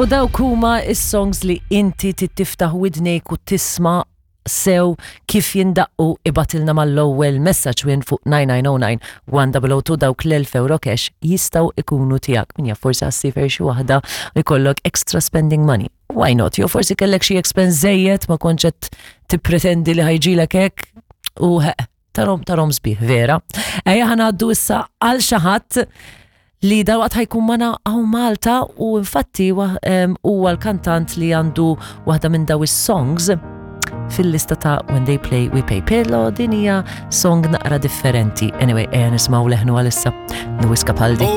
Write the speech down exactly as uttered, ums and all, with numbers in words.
U dawk huma is-songs li inti tiftaħ widnejk u tisma' sew kif jindaqqu. Ibgħatilna mal-ewwel messaġġ wien fuq nine nine zero nine one zero zero two. Dawk l-elf euro cash jistgħu ikunu tiegħek. Min jaf, forsi għas-sifer xi waħda u jkollok extra spending money. Why not? Jew forsi kellek xi expense żejjed, ma kontx qed tippretendi li ħa jiġilek hekk u tarom tarom sbieħ, vera. Ejja ħa ngħaddu issa għal xi ħadd li dalwaqt ħa jkun magħna hawn Malta u infatti huwa l-kantant li għandu waħda minn daw is-songs fil-lista ta' When They Play We Pay. Pero din hija song naqra differenti. Anyway, ejja nisimgħu leħnu għalissa. Lewis Capaldi.